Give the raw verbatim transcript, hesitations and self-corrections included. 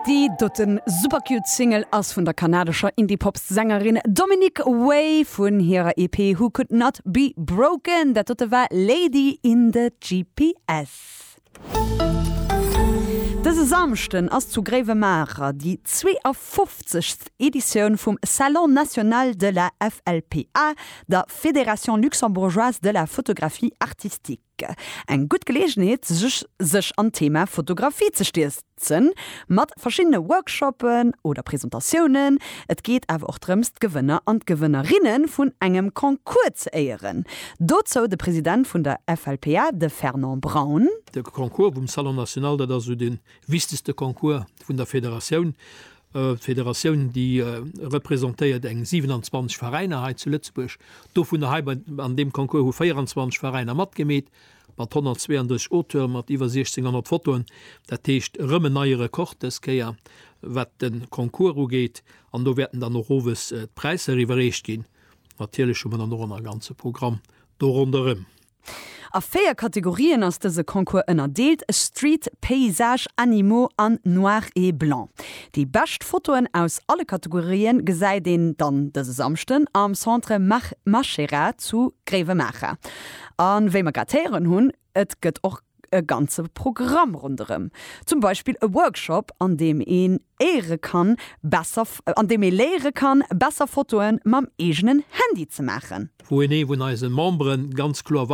Déi doten super cute Single ass vun der kanadescher Indie-Pop-Sängerin Dominic Way vun hirer E P Who Could Not Be Broken. Dat dote war Lady in the G P S. Dëse Samschden ass zu Gréiwemaacher déi zweeafofzegst. Editioun vum Salon national de la F L P A, der Fédération luxembourgeoise de la photographie artistique. Eng gutt Geleeënheet, sech, sech an Thema Fotografie ze stierzen, mat verschiddene Workshoppen oder Presentatiounen. Et geet awer och drëms, d'Gewënner an d'Gewënnerinne vun engem Concours ze éieren. Dozou de President vun der F L P A, de Fernand Braun. De Concours vum Salon national, dat ass sou de wichtegste Concours vun der Federatioun. Äh, Federatioun, déi äh, representéiert eng siewenundzwanzeg Veräiner hei zu Lëtzebuerg. Dovun hei an deem Concours hu véierundzwanzeg Veräiner matgemeet, mat honnertzweeëndrësseg Auteure mat iwwer sechzénghonnert Fotoen. Dat heescht rëm en neie Rekord dës Kéier, wat de Concours ugeet, an do wäerten dann och owes äh, d'Präisser iwwerreecht ginn. Natierlech hu mer dann och e ganze Programm do ronderëm. A véier Kategorien ass dëse Concours ënnerdeelt: Street, Paysage, Animaux an Noir et Blanc. Déi bescht Fotoen aus alle Kategorien gesäit een dann dëse Samschden am Centre Mach Machera zu Gréiwemaacher. An wéi mer grad héieren hunn, et gëtt och e ganze Programm ronderëm. Zum Beispill e Workshop, an deem een léiere kann, besser an deem ee léiere kann, besser Fotoen mam eegenen Handy ze maachen. Wou een ee vun eise Memberen ganz kloer